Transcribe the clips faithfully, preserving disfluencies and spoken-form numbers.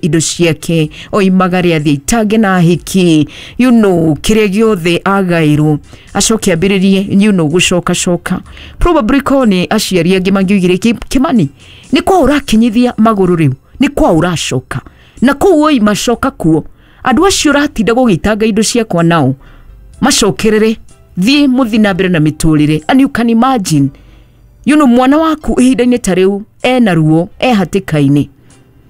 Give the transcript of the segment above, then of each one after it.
Indo ciake oimagare athiĩ itange na hiki you know kĩrĩa gĩothe agairwo acoke ambĩrĩrie you know gũcoka coka. Probably korwo nĩ aciari angĩ mangiugire, "Kĩmani, nĩ kwa ũrakinyithia magũrũ rĩu, nĩ kwa ũracoka na kũu oima, coka kuo. Andũ acio ũratinda gũgĩitanga indo ciakwa nao macokerere, thiĩ mũthi na mbere na mĩtũrĩre." And you can imagine you know mwana waku ihinda-inĩ ta rĩu ena ruo, e hatĩka-inĩ.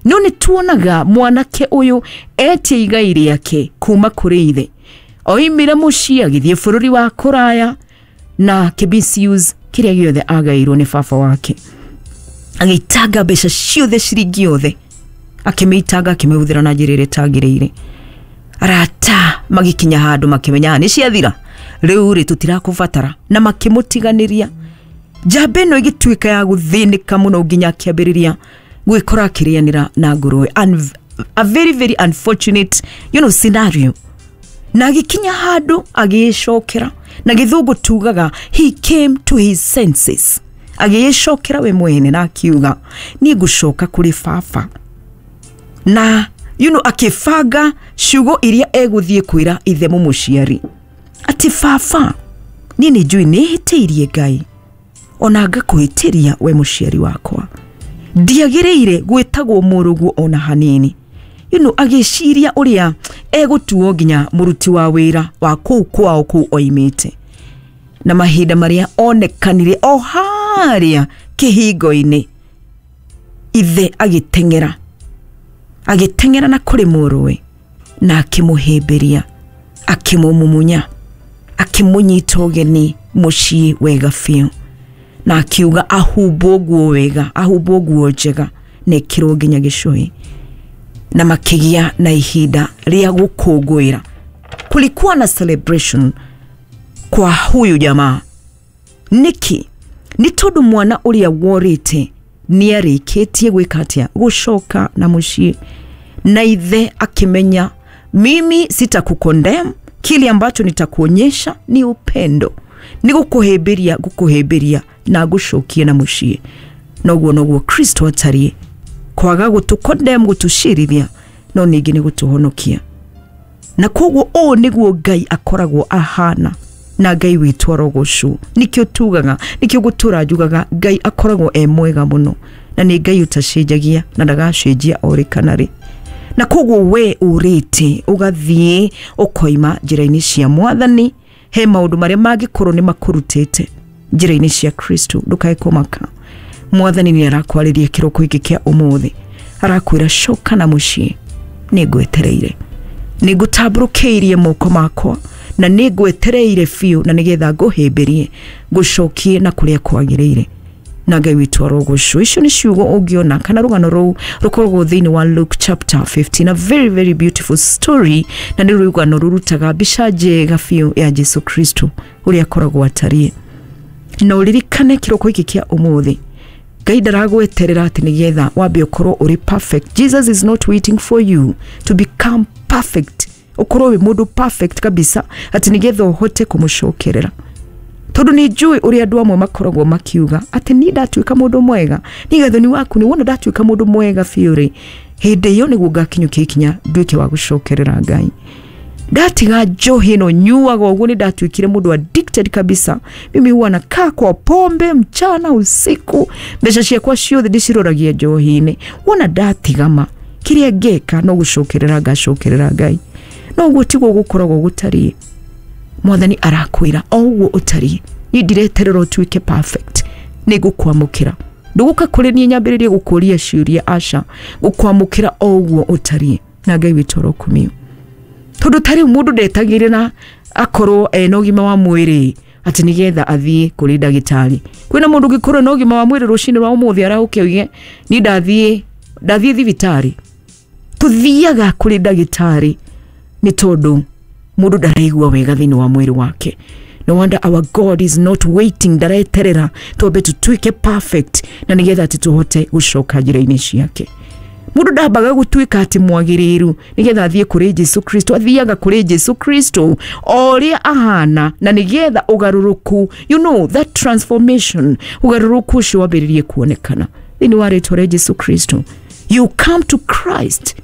No nĩ tuonaga mwanake ũyũ etie igai rĩake kuma kũrĩ ithe, oimire mũciĩ agĩthiĩ bũrũri wa kũraya na akĩ kĩrĩa gĩothe agairwo nĩ baba wake, agĩitanga mbeca ciothe, ciringi yothe akĩmĩitanga, akĩmĩhũthĩra na njĩra ĩrĩa ĩtagĩrĩire. Arata magĩkinya handũ makĩmenya nĩ ciathira rĩu rĩ, tũtirakũbatara, na makĩmũtiganĩria. Njamba ĩno ĩgĩtuĩka ya gũthĩnĩka mũno nginya akĩambĩrĩria gwĩkora akĩrĩanĩra na ngũrũwe. And a very very unfortunate you know, scenario. Na agĩkinya handũ agĩĩcokera, na Gĩthũngũ tugaga he came to his senses, agĩĩcokera we mwene na akiuga, "Niĩ ngũcoka kũrĩ baba." Na you know, akĩbanga ciugo iria egũthiĩ kwĩra ithe mũmũciari atĩ, "Baba, niĩ nĩ njũĩ nĩ hĩtĩirie Ngai ona ngakũhĩtĩria we mũciari wakwa, ndiagĩrĩire gwĩtagwo mũrũguo ona hanini." you know, agĩciria ũrĩa egũtuo nginya mũruti wa wĩra wa kũu kwao kũu oimĩte. Na mahinda marĩa onekanire o harĩa kĩhingo-inĩ, ithe agĩteng'era agĩteng'era na kũrĩ mũrũwe na akĩmũhĩmbĩria, akĩmũmumunya, akĩmũnyita ũgeni mũciĩ wega biũ, na akiuga ahumbwo nguo wega, ahumbwo nguo njega na ĩkĩrwo nginya gĩcũhĩ, na makĩgĩa na ihinda rĩa gũkũngũĩra. Kulikuwa na celebration kwa huyu jamaa. Nĩkĩ? Nĩ tondũ mwana ũrĩa worĩte nĩ arĩkĩtie gwĩka atĩa? Gũcoka na mũciĩ. Na ithe akĩmenya, mimi sitakucondemn, kile ambacho nitakuonyesha ni upendo, nĩ gũkũhĩmbĩria, gũkũhĩmbĩria na ngũcokie na mũciĩ. Noguo noguo Kristo atariĩ, kwaga gũtũcondemn, gũtũcirithia, no ningĩ nĩ gũtũhonokia. Na koguo ũũ nĩguo Ngai akoragwo ahana, na Ngai witũ arogocwo. Nĩkĩo tugaga, nĩkĩo gũtũra njugaga Ngai akoragwo e mwega mũno, na nĩ Ngai ũtacenjagia na ndagacenjia o rĩ kana rĩ. Na koguo we ũrĩte ũgathiĩ ũkoima njĩra-inĩ cia Mwathani, he maũndũ marĩa mangĩkorwo nĩ makũrutĩte njĩra-inĩ cia Kristo, ndũkae kũmaka. Mwathani nĩ arakwarĩria kĩroko gĩkĩ kĩa ũmũthĩ, arakwĩra, "Coka na mũciĩ, nĩ ngwetereire, nĩ ngũtambũrũkĩirie moko makwa na nĩ ngwetereire biũ, na nĩgetha ngũhĩmbĩrie, ngũcokie na kũrĩa kwagĩrĩire." Na Ngai witũ arogocwo. Icio nĩ ciugo ũngĩona kana rũgano rũu rũkoragwo thĩinĩ wa Luke chapter fifteen, a very very beautiful story, na nĩ rũgano rũrutaga mbica njega biũ ya Jesu Kristo ũrĩa akoragwo atariĩ. Na ũririkane kĩroko gĩkĩ kĩa ũmũthĩ, Ngai ndaragweterera atĩ nĩgetha wambe ũkorwo ũrĩ perfect. Jesus is not waiting for you to become perfect, ũkorwo wĩ mũndũ perfect kabisa atĩ nĩgetha ũhote kũmũcokerera. Tondũ nĩ njũĩ ũrĩa andũ amwe makoragwo makiuga atĩ niĩ ndatuĩka mũndũ mwega, niĩ Gathoni waku nĩ wona ndatuĩka mũndũ mwega biũ rĩ, hĩndĩ ĩyo nĩguo ngakinyũkia ikinya nduĩke wa gũcokerera Ngai. Ndatiga njohi ĩno nyuaga ũguo, nĩ ndatuĩkire mũndũ addicted kabisa. Mimi huwa nakaa kwa pombe mchana usiku, mbeca ciakwa ciothe ndĩciroragia njohi-inĩ. Wona ndatigama, kĩrĩa ngeka no gũcokerera ngacokerera Ngai. No ũguo tiguo gũkoragwo gũtariĩ. Mwathani arakwĩra, o ũguo ũtariĩ, niĩ ndireterera ũtuĩke perfect, nĩ ngũkwamũkĩra. Ndũgũka kũrĩ niĩ nyambĩrĩrie gũkũria ciũria, aca, gũkwamũkĩra o ũguo ũtariĩ. Na Ngai witũ arokumio. Tondũ ta rĩu mũndũ ndetagĩrĩra akorwo ena ũgima wa mwĩrĩ atĩ nĩgetha athiĩ kũrĩ ndagĩtarĩ. Kwĩna mũndũ ũngĩkorwo na ũgima wa mwĩrĩ rũcinĩ rwa ũmũthĩ arahũke oige, "Niĩ ndathiĩ ndathiĩ thibitarĩ"? Tũthiaga kũrĩ ndagĩtarĩ nĩ tondũ mũndũ ndaraigua wega thĩinĩ wa mwĩrĩ wake. No wonder our God is not waiting, ndareterera twambe tũtuĩke perfect na nĩgetha atĩ tũhote gũcoka njĩra-inĩ ciake. Mũndũ ndambaga gũtuĩka atĩ mwagĩrĩru nĩgetha athiĩ kũrĩ Jesu Kristo, athiaga kũrĩ Jesu Kristo o ũrĩa ahana, na nĩgetha ũgarũrũku, you know that transformation, ũgarũrũku ũcio wambĩrĩrie kuonekana thĩinĩ wa rĩtwa rĩa Jesu Kristo. You come to Christ.